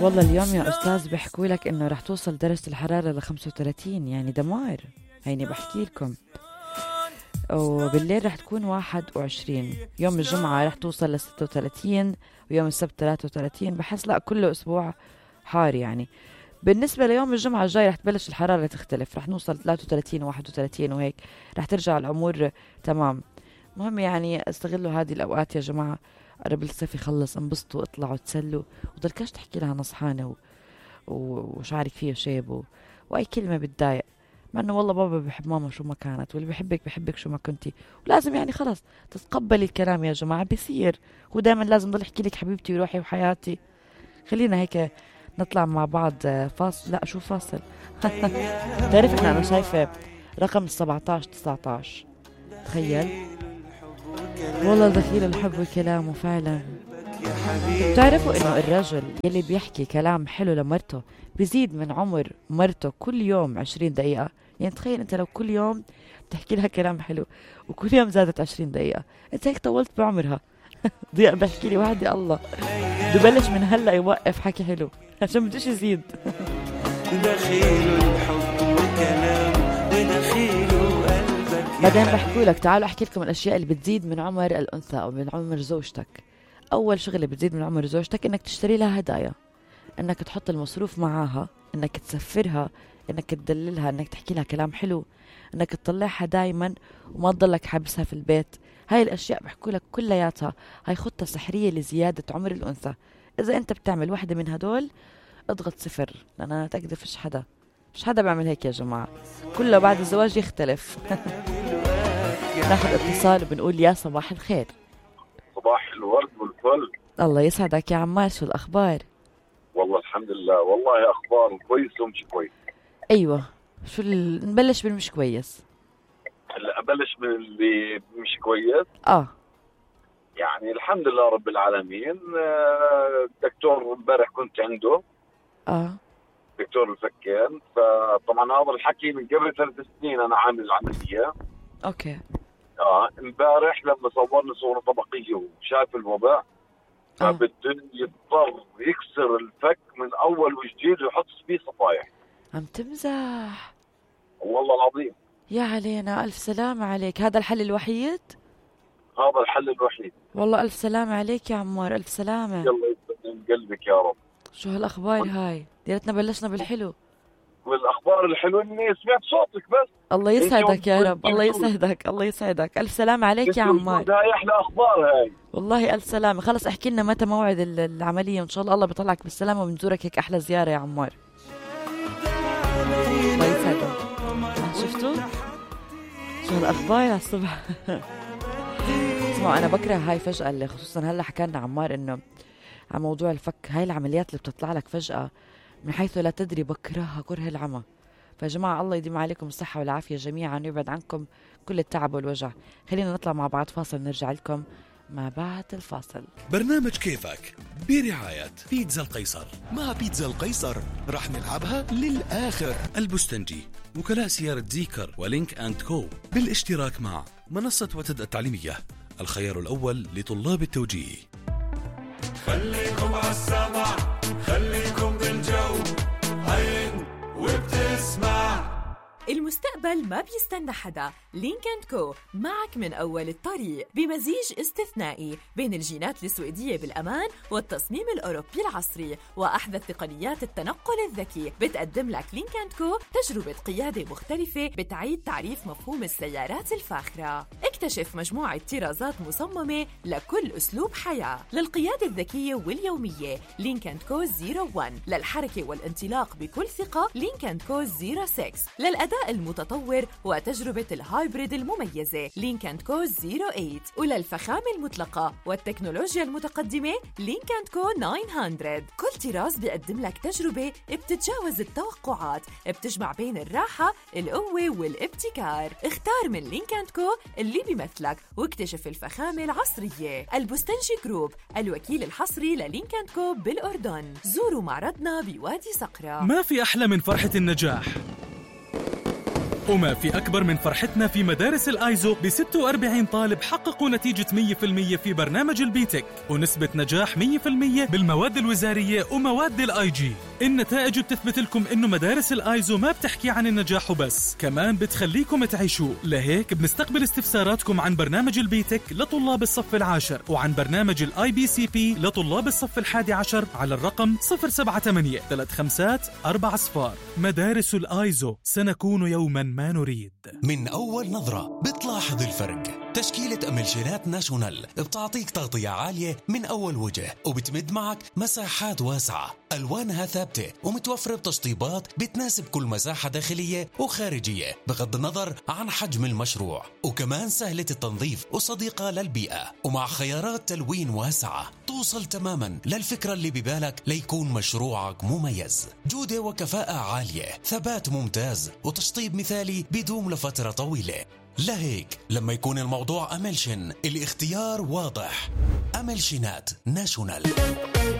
والله اليوم يا أستاذ بيحكوا لك إنه رح توصل درجة الحرارة ل 35، يعني دمار. هيني بحكي لكم. وبالليل رح تكون 21. يوم الجمعة رح توصل ل 36، ويوم السبت 33. بحس لا كله أسبوع حار يعني. بالنسبة ليوم الجمعة الجاي رح تبلش الحرارة تختلف، رح نوصل 33 و31 وهيك، رح ترجع الأمور تمام. مهم يعني استغلوا هذه الأوقات يا جماعة، قرب الصيف يخلص، انبسطوا، اطلعوا تسلوا، وضلكاش تحكي لها نصحانة وشعرك فيه شيب وأي كلمة بتضايق، مع انه والله بابا بيحب ماما شو ما كانت، واللي بيحبك بيحبك شو ما كنتي، ولازم يعني خلص تتقبلي الكلام يا جماعة. بيصير هو دائما لازم ضل يحكي لك حبيبتي وروحي وحياتي. خلينا هيك نطلع مع بعض فاصل. لا شو فاصل تعرف انا شايفة رقم 17-19. تخيل والله دخيل الحب وكلامه فعلا. بتعرفوا انه الرجل يلي بيحكي كلام حلو لمرته بيزيد من عمر مرته كل يوم 20 دقيقة. يعني تخيل انت لو كل يوم تحكي لها كلام حلو وكل يوم زادت 20 دقيقة، انت هيك طولت بعمرها. ضيع بحكي لي وحدي الله ببلش من هلا يوقف حكي حلو عشان بدوش يزيد. دخيل الحب وكلام ودخيل قلبك. بعدين بحكوا لك تعالوا احكي لكم الاشياء اللي بتزيد من عمر الانثى او من عمر زوجتك. اول شغله بتزيد من عمر زوجتك انك تشتري لها هدايا، انك تحط المصروف معاها، انك تسفرها، انك تدللها، انك تحكي لها كلام حلو، انك تطلعها دايما وما تضلك حابسها في البيت. هاي الاشياء بحكوا لك كلياتها هاي خطة سحرية لزيادة عمر الانثى. اذا انت بتعمل واحدة من هدول اضغط 0، لان انا اتاكد فيش حدا بيعمل هيك يا جماعة، كله بعد الزواج يختلف. ناخذ اتصال وبنقول يا صباح الخير. صباح الورد والفل. الله يسعدك يا عمار، شو الاخبار؟ والله الحمد لله، والله اخبار كويس ومش كويس. ايوه شو نبلش بالمش كويس. هلا ابلش باللي مش كويس. يعني الحمد لله رب العالمين. الدكتور امبارح كنت عنده، دكتور الفكين، فطبعا هذا الحكي من قبل 3 سنين انا عامل العمليه. اوكي. امبارح لما صورنا صوره طبقيه وشاف الوضع فبده يضطر يكسر الفك من اول وجديد ويحط فيه صفايح. عم تمزح؟ والله العظيم. يا علينا، الف سلامة عليك. هذا الحل الوحيد؟ هذا الحل الوحيد. والله الف سلامة عليك يا عمار، الف سلامة. يلا يسلم قلبك يا رب. شو هالاخبار هاي؟ يا ريتنا بلشنا بالحلو. والاخبار الحلوه اني سمعت صوتك بس. الله يسعدك يا رب، الله يسعدك، الله يسعدك. الف سلامة عليك يا عمار. هاي احلى اخبار هاي. والله الف سلامة. خلص احكي لنا متى موعد العملية، وان شاء الله بيطلعك بالسلامة وبنزورك هيك احلى زيارة يا عمار. الله يسعدك. شفتوا شو هالاخبار على الصبح؟ اسمعوا انا بكره هاي فجأة اللي خصوصا هلا حكالنا عمار انه على موضوع الفك، هاي العمليات اللي بتطلع لك فجأة من حيث لا تدري، بكرهها كره العمى. فيا جماعة الله يديم عليكم الصحة والعافية جميعا ويبعد عنكم كل التعب والوجع. خلينا نطلع مع بعض فاصل، نرجع لكم ما بعد الفاصل. برنامج كيفك برعاية بيتزا القيصر. مع بيتزا القيصر رح نلعبها للآخر. البستنجي، وكلاء سيارة زيكر ولينك أند كو، بالاشتراك مع منصة وتد التعليمية، الخيار الأول لطلاب التوجيه. خليكم عالسمع، خليكم بالجو، هين وبتسمع. المستقبل ما بيستنى حدا. لينك أند كو معك من أول الطريق بمزيج استثنائي بين الجينات السويدية بالأمان والتصميم الأوروبي العصري وأحدث تقنيات التنقل الذكي. بتقدم لك لينك أند كو تجربة قيادة مختلفة بتعيد تعريف مفهوم السيارات الفاخرة. اكتشف مجموعة طرازات مصممة لكل أسلوب حياة. للقيادة الذكية واليومية لينك أند كو 01، للحركة والانطلاق بكل ثقة لينك أند كو 06، للأداء المتطور وتجربة الهايبريد المميزة لينك أند كو 08، وللفخامة المطلقة والتكنولوجيا المتقدمة لينك أند كو 900. كل طراز بيقدم لك تجربة بتتجاوز التوقعات، بتجمع بين الراحة، القوة والابتكار. اختار من لينك أند كو اللي بيمثلك واكتشف الفخامة العصرية. البستنجي جروب، الوكيل الحصري للينك أند كو بالأردن. زوروا معرضنا بوادي صقرة. ما في أحلى من فرحة النجاح. وما في أكبر من فرحتنا في مدارس الآيزو ب 46 طالب حققوا نتيجة 100% في برنامج البيتك ونسبة نجاح 100% بالمواد الوزارية ومواد الآي جي. النتائج بتثبت لكم إنه مدارس الآيزو ما بتحكي عن النجاح وبس، كمان بتخليكم تعيشوا. لهيك بنستقبل استفساراتكم عن برنامج البيتك لطلاب الصف العاشر وعن برنامج الآي بي سي بي لطلاب الصف الحادي عشر على الرقم 078-35 مدارس الآيزو، سنكون يوما ما نريد. من أول نظرة بتلاحظ الفرق. تشكيلة أملشينات ناشونال بتعطيك تغطية عالية من أول وجه وبتمد معك مساحات واسعة، ألوانها ثابتة ومتوفرة بتشطيبات بتناسب كل مساحة داخلية وخارجية بغض النظر عن حجم المشروع، وكمان سهلة التنظيف وصديقة للبيئة، ومع خيارات تلوين واسعة توصل تماما للفكرة اللي ببالك ليكون مشروعك مميز. جودة وكفاءة عالية، ثبات ممتاز، وتشطيب مثالي بيدوم لفترة طويلة. لهيك لما يكون الموضوع أملشن الاختيار واضح. أملشينات ناشونال.